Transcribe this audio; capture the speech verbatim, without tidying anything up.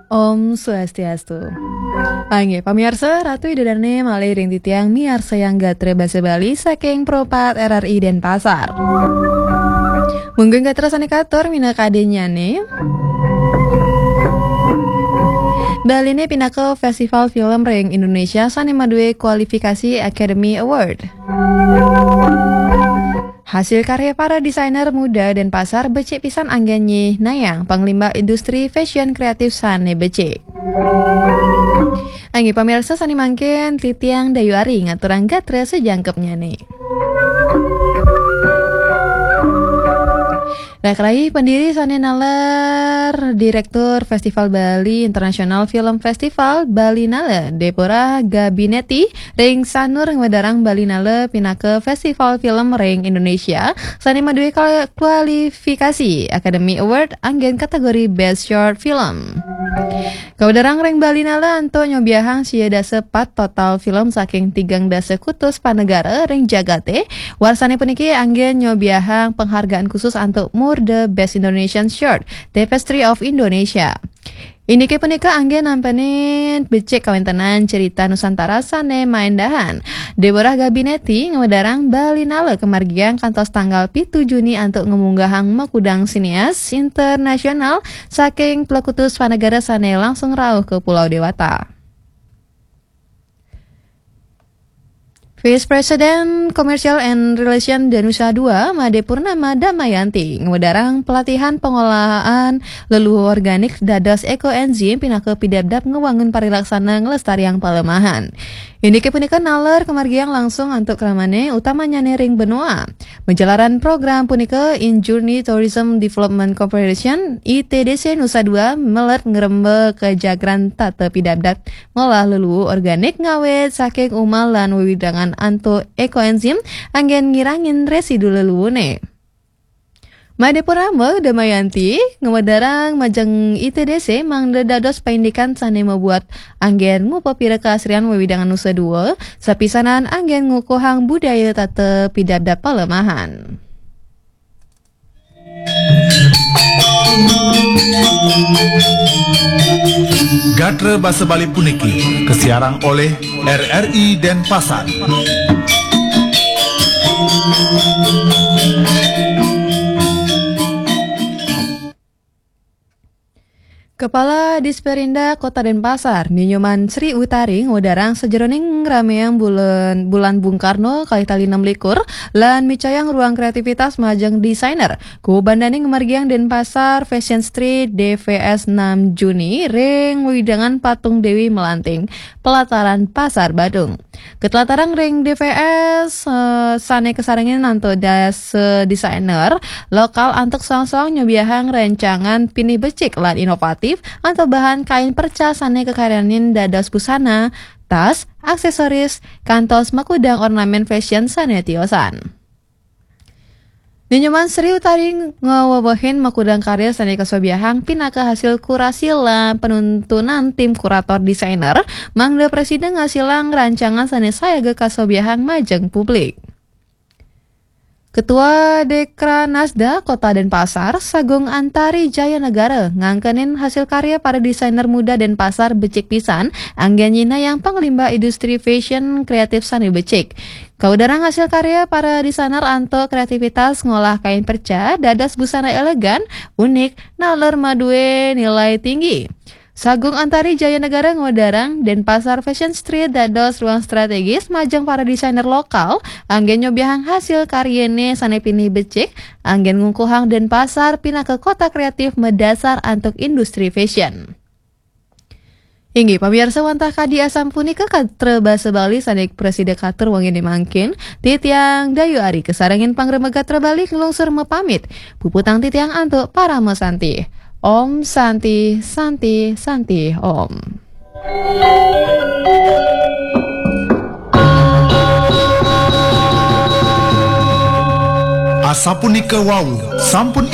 Om Swastiastu. Panggih pamiarsa, Ratu Ida Dane malih ring titiang miarsayang gatra basa Bali saking Pro empat R R I Denpasar. Mungguing gatra sane katur minakadinnyane. Baline pinaka festival film ring Indonesia sane maduwe kualifikasi Academy Award. Hasil karya para desainer muda Denpasar becik pisan anggen nyihnayang panglimbak industri fashion kreatif sane becik. Anggi pamirsa sane mangkin titiang Dayu Ari ngaturang gatra sajangkepnyane. Rakrayi pendiri sane naler Direktur Festival Bali International Film Festival Bali Nala Deborah Gabineti ring Sanur ngwedarang Bali Nala pinaka festival film ring Indonesia sane maduwe kal- kualifikasi Academy Award anggen kategori Best Short Film. Kawedarang ring Bali Nala antuk nyobiahang sia dasa pat total film saking tigang dasa kutus panegara ring jagate. Warsane puniki anggen nyobiahang penghargaan khusus antuk Mur the Best Indonesian Short, Tapestry of Indonesia. Indike punika anggen nampenin becik kawentenan cerita Nusantara sane maendahan. Deborah Gabineti ngwedarang Bali Nala kamargiang kantos tanggal pitu Juni antuk ngemunggahang makudang sineas internasional saking plekutus panegara sane langsung rauh ke Pulau Dewata. Vice President Commercial and Relation Danusa dua, Made Purnama Damayanti, ngwedarang pelatihan pengolahan leluhu organik dados ekoenzim pinaka pidabdab ngewangun parilaksana nglestariang palemahan. Indike punika naler kamargiang langsung antuk kramane utamanyane ring Benoa. Majalaran program punika, In Journey Tourism Development Corporation, I T D C Nusa Dua, melet ngremba kajagran tata pidabdab ngolah leluhu organik ngawit saking umah lan wewidangan antuk ekoenzim anggen ngirangin residu leluhune. Made Purnama Damayanti ngwedarang majeng I T D C mangda dados paindikan sane mabuat anggen ngupapira kaasrian wewidangan Nusa Dua, sapisanan anggen ngukuhang budaya tata pidabdab palemahan. Gatra basa Bali puniki kasiarang oleh R R I Denpasar. Kepala Disperindah Kota Denpasar, Ni Nyoman Sri Utari, ngwedarang sajeroning ngrameang bulan, bulan Bung Karno kalih tali enam likur lan micayang ruang kreativitas majeng desainer. Kubandaning ngamargiang Denpasar Fashion Street D F S enam Juni ring wewidangan Patung Dewi Melanting, pelataran Pasar Badung. Katlatarang ring D F S, eh, sane kasarengin antuk dasa desainer lokal antuk soang-soang nyobiahang rancangan pinih becik lan inovatif antuk bahan kain perca sane kakaryanin dados busana, tas, aksesoris, kantos makudang ornamen fashion sane tiosan. Ni Nyoman Sri Utari ngawewehin makudang karya sane kasobiahang pinaka hasil kurasi lan panuntunan tim kurator desainer, mangda prasida ngasilang rancangan sane sayaga kasobiahang majeng publik. Ketua Dekranasda Kota Denpasar, Sagung Antari Jaya Negara, ngangkenin hasil karya para desainer muda Denpasar becik pisan, anggen nyihnayang panglimbak industri fashion kreatif sane becik. Kawedarang hasil karya para desainer antuk kreativitas ngolah kain perca dados busana elegan, unik, naler maduwe nilai tinggi. Sagung Antari Jaya Negara ngwedarang Denpasar Fashion Street dados ruang strategis majeng para desainer lokal, anggen nyobiahang hasil karyane sane pinih becik, anggen ngukuhang Denpasar pinaka kota kreatif madasar antuk industri fashion. Inggih, pamiarsa wantah kadi asapunika katra basa Bali sane prasida katur wengine mangkin, titiang Dayu Ari kasarengin pangremeg gatra Bali nglungsur mapamit. Puputang titiang antuk parama santi. Om Santi, Santi, Santi, Om. Asapunika wau, sampun